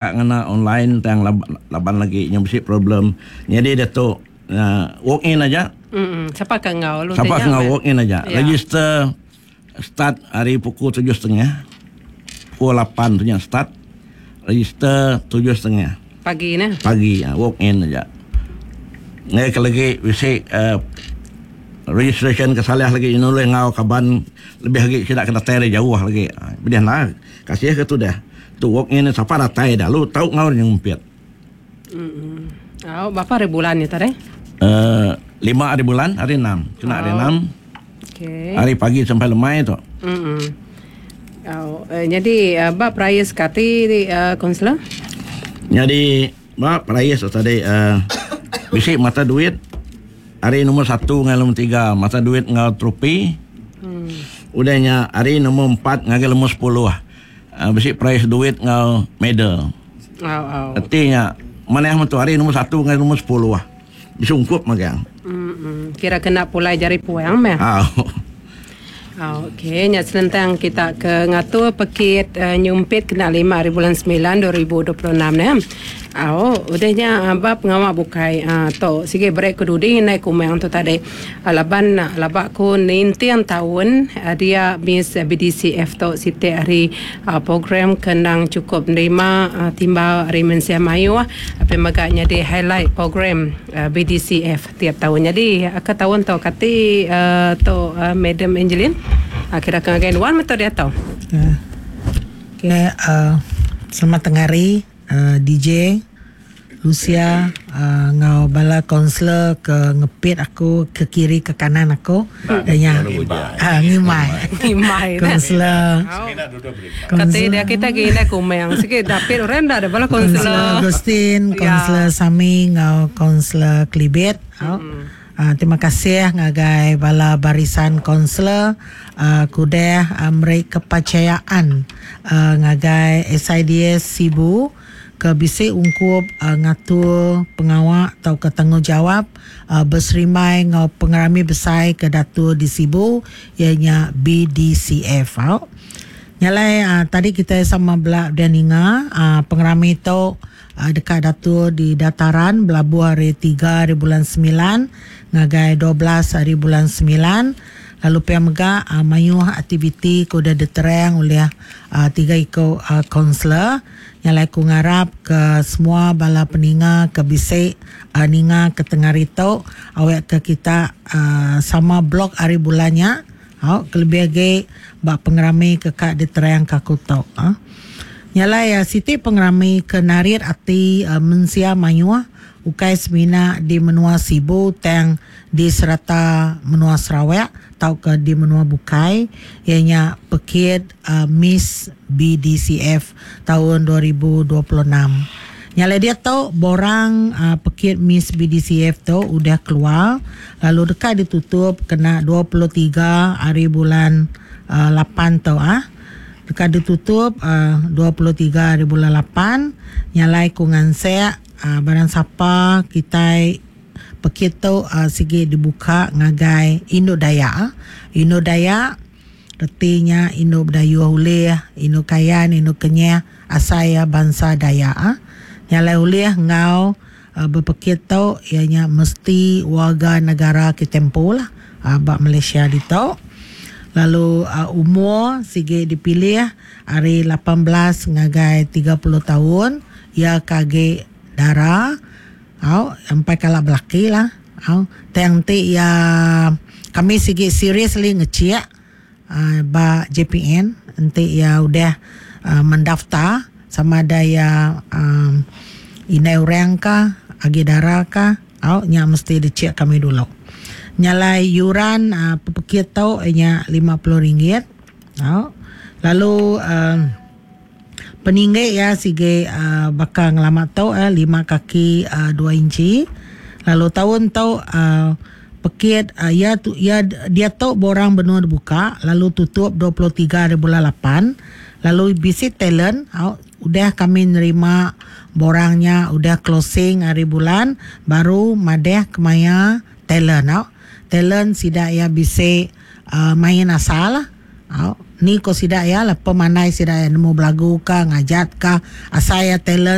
Ngena online tang laban lagi nya bisi problem. Nyadi diatu walk in aja. Sapa ke enggau lalu Sapa ke enggau walk in aja. Register start ari pukul 7:30. Pukul 8 tu nya start. Register 7:30. Pagi neh. Pagi walk in aja. Ngagai ke lagi bisi registration ke salah lagi nulih enggau kaban lebih agi sida ke datai ari jauh lagi. Pedih enda. Kasih ke tudah. Tu walk in sapa datai dah lu tau enggau nya ngumpit. Au berapa hari bulan nya tadi? Uh, lima hari bulan, hari enam. Kena hari enam. Okay. Hari pagi sampai lemai tu. Au, eh, jadi uh, ba perais kati uh, konselor? Jadi ba perais tu tadi uh, bisi mata duit hari nombor satu dengan nombor tiga mata duit enggau tropi. Udah nya hari nombor empat ngagai nombor sepuluh. Bisi perais duit enggau medal. Reti nya manah metu hari nombor satu ngagai nombor sepuluh bisi ungkup magang. Kira kena pulai jari puang meh. Okey nya senentang kita ke ngatur pekit nyumpit kena lima hari bulan semilan 2026 neh. Au udah nya ba pengawa bukai tu sigi beri ku dudi indai kumang tu tadi. Laban laba ku ninting taun dia Miss BDCF tu siti ari program ke endang chukup nerima timbal ari mensia mayuh api mega nyadi highlight program BDCF tiap taun. Nyadi ke taun tu kati tu Madam Angeline kira ke ngagai nuan meh tu diatu. Okay selamat tengah hari DJ. Lucia enggau bala kaunselor ke ngepit aku ke kiri ke kanan aku iya nya ngimbai kaunselor Kati dia kita agi indai kumang sigi dapit orang enda da bala kaunselor Kaunselor Agustin, Kaunselor Sami enggau Kaunselor Kelibit. Terima kasih ngagai bala barisan kaunselor ke udah meri kepercayaan ngagai SIDS Sibu. ke bisi ungkup ngatur pengawa tauka tanggungjawap beserimbai enggau pengerami besai ke diatur di Sibu iya nya BDCF. Au. Nya alai tadi kitai sama bela udah ninga pengerami tu deka diatur di Dataran belabuh ari tiga hari bulan semilan ngagai 12 hari bulan semilan lalu pia mega mayuh aktiviti ke udah diterang ulih tiga iku kaunselor. Nya alai ku ngarap ke semua bala peninga ke bisi ninga ke tengah hari tu awek ke kita sama blog hari bulan nya au kelebih agi ba pengerami ke ka diterang ka aku tu. Nya alai siti pengerami ke narit ati mensia mayuh ukai semina di menua Sibu tang di serata menua Sarawak tauka di menua bukai iya nya pekit Miss BDCF taun 2026. Nya alai diatu borang pekit Miss BDCF tu udah keluar lalu deka ditutup kena 23 hari bulan lapan tu ah. Deka ditutup 23 hari bulan lapan. Nya alai ku ngansek barang sapa kitai pekit tu sigi dibuka ngagai indu Dayak. Indu Dayak Reti nya indu Bidayuh ulih, indu Kayan, indu Kenyah asai iya bansa Dayak. Nya alai ulih enggau bepekit tu iya nya mesti warga negara kitai empu lah ba Malaysia ditu. Lalu umur sigi dipilih ari 18 ngagai 30 taun iya ke agi dara au empai kala belaki lah. Au tang enti iya kami sigi seriously ngechik ba JPN enti iya udah mendaftar sama ada iya indai orang ka agi dara ka au nya mesti dichik kami dulu. Nya alai yuran pepekit tu iya nya RM50 au lalu Peninggi iya sigi baka ngelama tu lima kaki dua inchi lalu taun tu pekit iya iya diatu borang benung dibuka lalu tutup 23 hari bulan lapan lalu bisi talent udah kami nerima borang nya udah closing hari bulan baru madah kemaya talent talent sida iya bisi main asal. Au, ni ko sida ya lah pemandai sida ya nemu belagu ka ngajat ka asai ya talent.